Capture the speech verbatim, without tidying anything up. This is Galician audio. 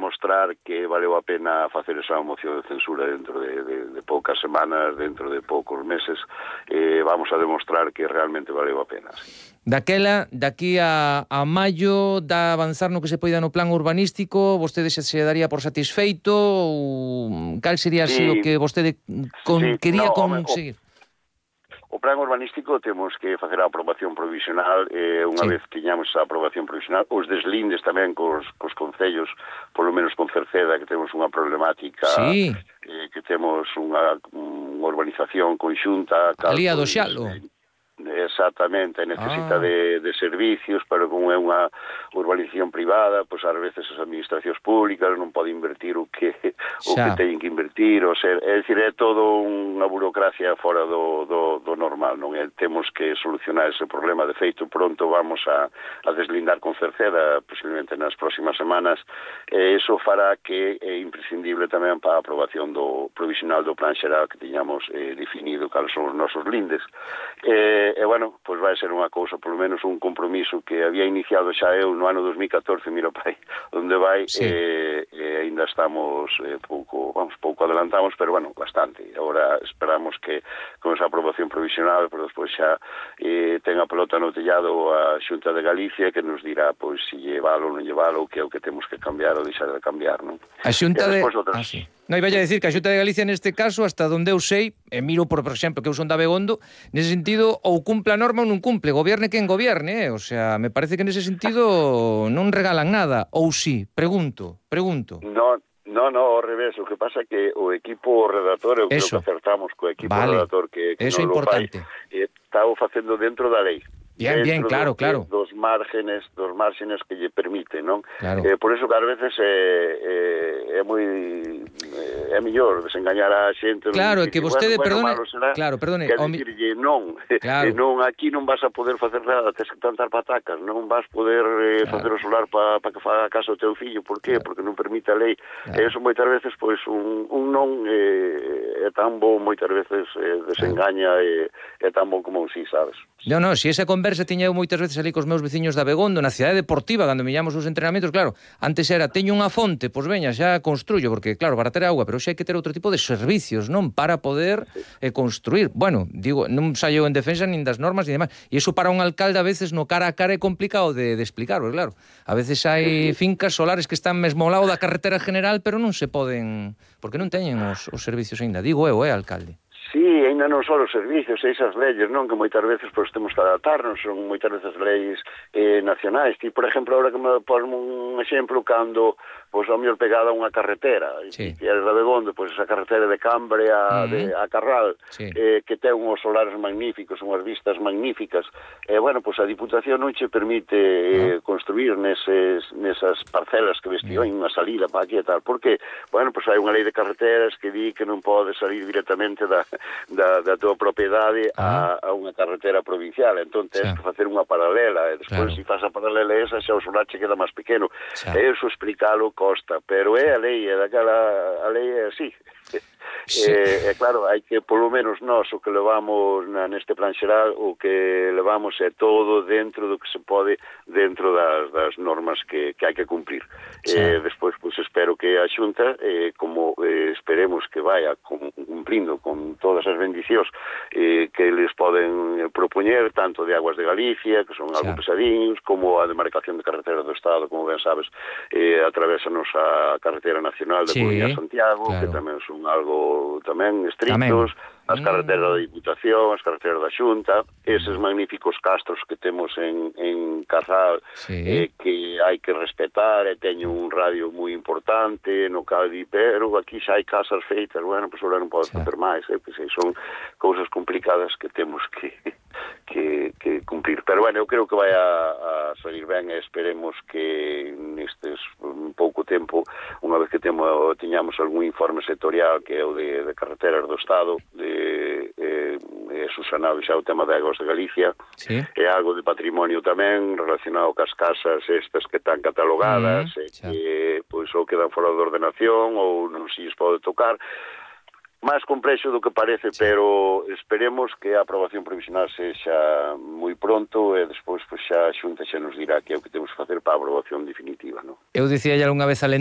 demostrar que valeu a pena facer esa moción de censura dentro de, de, de poucas semanas, dentro de poucos meses, eh, vamos a demostrar que realmente valeu a pena. Sí. Daquela, daqui a, a maio, da avanzar no que se poida no plan urbanístico, vostede se, se daría por satisfeito ou cal sería así Sí, o que vostede con, sí, quería no, home, conseguir? O plan urbanístico temos que facer a aprobación provisional, e eh, unha sí. vez que tiñamos esa aprobación provisional, os deslindes tamén cos, cos concellos, polo menos con Cerceda, que temos unha problemática, sí. eh, que temos unha, unha urbanización conxunta, cal, Ali a do pois, Xalo. eh, exactamente, necesita ah. de, de servicios, pero como é unha urbanización privada, pois ás veces as administracións públicas non poden invertir o que o que teñen que invertir, o ser, é dicir, é todo unha burocracia fora do, do, do normal, non é? Temos que solucionar ese problema. De feito, pronto vamos a, a deslindar con Cerceda, posiblemente nas próximas semanas, e iso fará que é imprescindible tamén para a aprobación do provisional do plan xeral que tiñamos eh, definido cales son os nosos lindes. E, e bueno, pois vai ser unha cousa, polo menos un compromiso que había iniciado xa eu no ano dos mil catorce, mira pai, onde vai, sí. e, e ainda estamos eh, pouco, vamos, pouco adelantamos, pero bueno, bastante. Agora esperamos que con esa aprobación provisional, pero despois xa eh, ten a pelota no tellado a Xunta de Galicia, que nos dirá, pois, se llevalo ou non llevalo, que é o que temos que cambiar ou deixar de cambiar, non? A Xunta de... Outras... Ah, sí. Non, iba a decir que a Xunta de Galicia neste caso, hasta donde eu sei, e miro por, por exemplo, que eu son de Abegondo, nese sentido, ou cumple a norma ou non cumple, gobierne quen gobierne, eh? O sea, me parece que nese sentido non regalan nada, ou sí, pregunto, pregunto. No, no, no, ao revés, o que pasa é que o equipo redactor, eu creo que acertamos co equipo vale. redactor que, que Eso non lo fai, eh, está o facendo dentro da lei. Bien, bien, claro, do, claro. Dos márgenes, dos márgenes que lle permite, non? Claro. Eh, por eso que ás veces é, é, é moi é mellor desengañar a xente. Claro, é que vostede, bueno, perdone, bueno, será, claro, perdone, que dicirlle non, claro. non, aquí non vas a poder facer nada, tens que plantar patacas, non vas poder eh, claro. facer o solar para pa que faga caso ao teu fillo, por qué? Claro. Porque non permite a lei. Claro. E eso moitas veces, pois, un, un non eh, é tan bo, moitas veces eh, desengaña e claro. é tan bo como un sí, sabes? Non, non, se esa conversa tiña eu moitas veces ali cos meus veciños de Abegondo, na cidade deportiva, cando millamos os entrenamentos, claro, antes era, teño unha fonte, pois veña, xa construyo, porque claro, para ter agua, pero xa hai que ter outro tipo de servicios, non? Para poder eh, construir. Bueno, digo, non saio en defensa nin das normas ni demais. E iso para un alcalde a veces no cara a cara é complicado de, de explicar, porque claro, a veces hai fincas solares que están mesmo ao lado da carretera general, pero non se poden, porque non teñen os, os servicios aínda. Digo eu, eh, alcalde. Sí, ainda non só os servicios, esas leyes, non? Que moitas veces pois, temos que adaptarnos, son moitas veces leyes eh, nacionais. Ti, por exemplo, ahora que me ponme un exemplo, cando pois, ao mellor pegada a unha carretera, sí. e eres de Abegondo, pois esa carretera de Cambre a, mm. de, a Carral, sí. eh, que ten unhos solares magníficos, unhas vistas magníficas, e, eh, bueno, pois a Diputación non che permite eh, no. construir neses, nesas parcelas que vestió mm. unha salida para aquí e tal, porque, bueno, pois hai unha lei de carreteras que di que non pode salir directamente da Da, da tua propiedade a, a unha carretera provincial, entón tens que facer unha paralela, e despois claro. Se faz a paralela esa, xa o solar che queda máis pequeno. Xa. E iso explicarlo costa, pero é a lei, é daquela, a lei é así. Sí. E, e claro, hai que, polo menos nós, o que levamos na, neste plan xeral, o que levamos é todo dentro do que se pode, dentro das, das normas que, que hai que cumprir. Sí. E despois, pois, espero que a Xunta, eh, como eh, esperemos que vaya con, cumplindo con todas as bendicións eh, que les poden propoñer, tanto de Aguas de Galicia, que son algo sí. Pesadiños, como a demarcación de carretera do Estado, como ben sabes, eh, atravésanos a carretera nacional de sí. Coruña a Santiago, claro. Que tamén son algo tamén estrictos, tamén. As carreteras da Diputación, as carreteras da Xunta, eses magníficos castros que temos en, en Carral, sí. eh, que hai que respetar, e teño un radio moi importante no Caldi, pero aquí xa hai casas feitas, bueno, pois agora non podo facer máis, eh, pois son cousas complicadas que temos que, que, que cumplir. Pero bueno, eu creo que vai a, a salir ben, e esperemos que nestes un pouco tempo, unha vez que temo, tiñamos algún informe sectorial que é o de, de carreteras do Estado, de eh, eh, susanado xa o tema de Aguas de Galicia, sí. E algo de patrimonio tamén relacionado cas casas estas que están catalogadas, mm, e que pois ou quedan fora de ordenación ou non se lles pode tocar. Máis complexo do que parece, sí. Pero esperemos que a aprobación provisional sexa moi pronto, e despois pois, xa a Xunta xa nos dirá que é o que temos que facer para a aprobación definitiva, non? Eu dicía xa unha vez alén